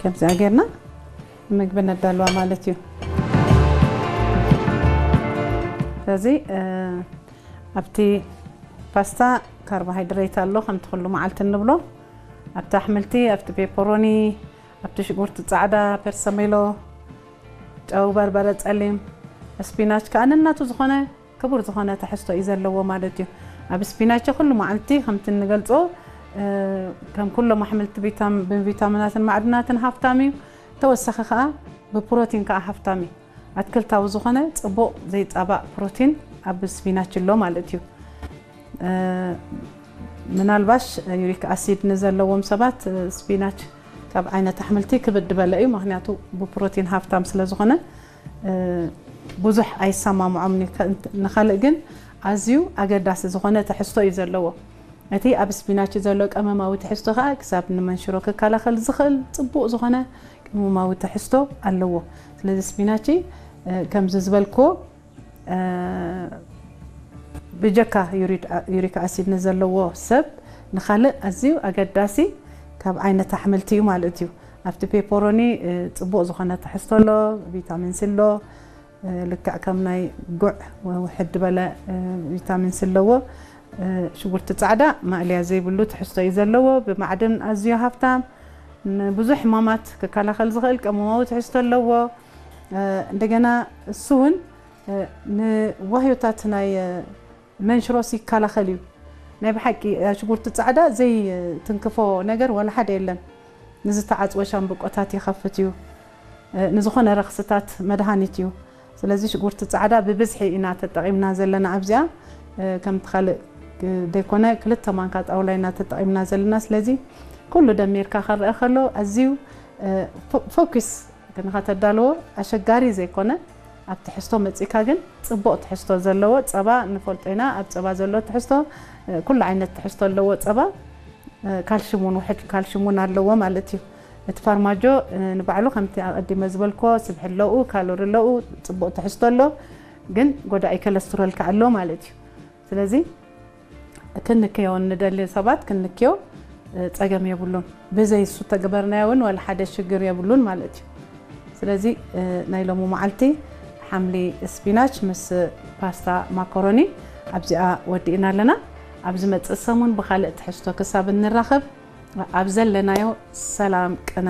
ኣብዚኣ ጌርና ምግቢ ነዳልዋ ማለት እዩ። ስለዚ ኣብቲ ፓስታ ካርቦሃይድሬት ኣሎ ከምቲ ኩሉ መዓልቲ እንብሎ። ኣብቲ ኣሕምልቲ፣ ኣብቲ ፔፐሮኒ፣ ኣብቲ ሽጉርቲ ጻዕዳ፣ ፐርሰሜሎ፣ ጨው፣ በርበረ ጸሊም፣ ስፒናች ከኣ ነናቱ ዝኾነ ክቡር ዝኾነ ትሕዝቶ እዩ ዘለዎ ማለት እዩ። ኣብ ስፒናች ኩሉ መዓልቲ ከምቲ እንገልጾ ከም ኩሎም ኣሕምልቲ ብቪታሚናትን ማዕድናትን ሃፍታም እዩ። ተወሳኺ ከኣ ብፕሮቲን ከኣ ሃፍታም እዩ። ኣትክልታዊ ዝኾነ ጽቡቕ ዘይጻባእ ፕሮቲን ኣብ ስፒናች ኣሎ ማለት እዩ። ምናልባሽ ዩሪክ ኣሲድ ንዘለዎም ሰባት ስፒናች ካብ ዓይነት ኣሕምልቲ ክብድ በለ እዩ፣ ምክንያቱ ብፕሮቲን ሃፍታም ስለ ዝኾነ ብዙሕ ኣይሰማምዖም። ንካልእ ግን ኣዝዩ ኣገዳሲ ዝኾነ ትሕዝቶ እዩ ዘለዎ። እቲ ኣብ ስፒናች ዘሎ ቀመማዊ ትሕዝቶ ከኣ ክሳብ ንመንሽሮ ክከላኸል ዝኽእል ጽቡቕ ዝኾነ ቀመማዊ ትሕዝቶ ኣለዎ። ስለዚ ስፒናች ከምዚ ዝበልክዎ ብጀካ ዩሪክ ኣሲድ ንዘለዎ ሰብ ንኻልእ ኣዝዩ ኣገዳሲ ካብ ዓይነት ኣሕምልቲ እዩ ማለት እዩ። ኣብቲ ፔፐሮኒ ጽቡቕ ዝኾነ ትሕዝቶ ኣሎ፣ ቪታሚን ሲ ኣሎ። ልክዕ ከም ናይ ጉዕ ውሕድ በለ ቪታሚን ሲ ኣለዎ። ሽጉርቲ ጻዕዳ ማእለያ ዘይብሉ ትሕዝቶ እዩ ዘለዎ። ብማዕድን ኣዝዩ ሃፍታም፣ ንብዙሕ ሕማማት ክከላኸል ዝኽእል ቀመማዊ ትሕዝቶ ኣለዎ። እንደገና እሱ እውን ንዋህዮታት ናይ መንሽሮስ ይከላኸል እዩ። ናይ ብሓቂ ሽጉርቲ ጻዕዳ ዘይትንክፎ ነገር ዋላ ሓደ የለን። ንዝተዓጽወ ሻምብቆታት ይኸፍት እዩ። ንዝኾነ ረኽስታት መድሃኒት እዩ። ስለዚ ሽጉርቲ ጻዕዳ ብብዝሒ ኢና ተጠቒምና ዘለና ኣብዚኣ። ከምቲ ካልእ ዘይኮነ ክልተ ማንካ ጣውላ ኢና ተጠቒምና ዘለና። ስለዚ ኩሉ ደሚርካ ክረአ ከሎ ኣዝዩ ፎኪስ ንኸተዳልዎ ኣሸጋሪ ዘይኮነ ኣብ ትሕዝቶ መጺካ ግን ጽቡቕ ትሕዝቶ ዘለዎ ጸባ ንፈልጦ ኢና። ኣብ ጸባ ዘሎ ትሕዝቶ ኩሉ ዓይነት ትሕዝቶ ኣለዎ ጸባ። ካልሽም እውን ውሕድ ካልሽም እውን ኣለዎ ማለት እዩ። እቲ ፋርማጆ ንባዕሉ ከምቲ ኣቐዲመ ዝበልኮ ስብሒ ኣለኡ፣ ካሎሪ ኣለኡ፣ ጽቡቕ ትሕዝቶ ኣሎ፣ ግን ጎዳኢ ኮለስትሮል ከኣ ኣሎ ማለት እዩ። ስለዚ ክንክዮ ንደሊ ሰባት ክንክዮ ጸገም የብሉን። ብዘይ እሱ ተግበርናዮ እውን ዋላ ሓደ ሽግር የብሉን ማለት እዩ። ስለዚ ናይ ሎሚ መዓልቲ ሓምሊ ስፒናች ምስ ፓስታ ማኮሮኒ ኣብዚኣ ወዲእና ኣለና። ኣብ ዝመጽእ ሰሙን ብኻልእ ትሕዝቶ ክሳብ እንራኸብ ኣብ ዘለናዮ ሰላም ቅነ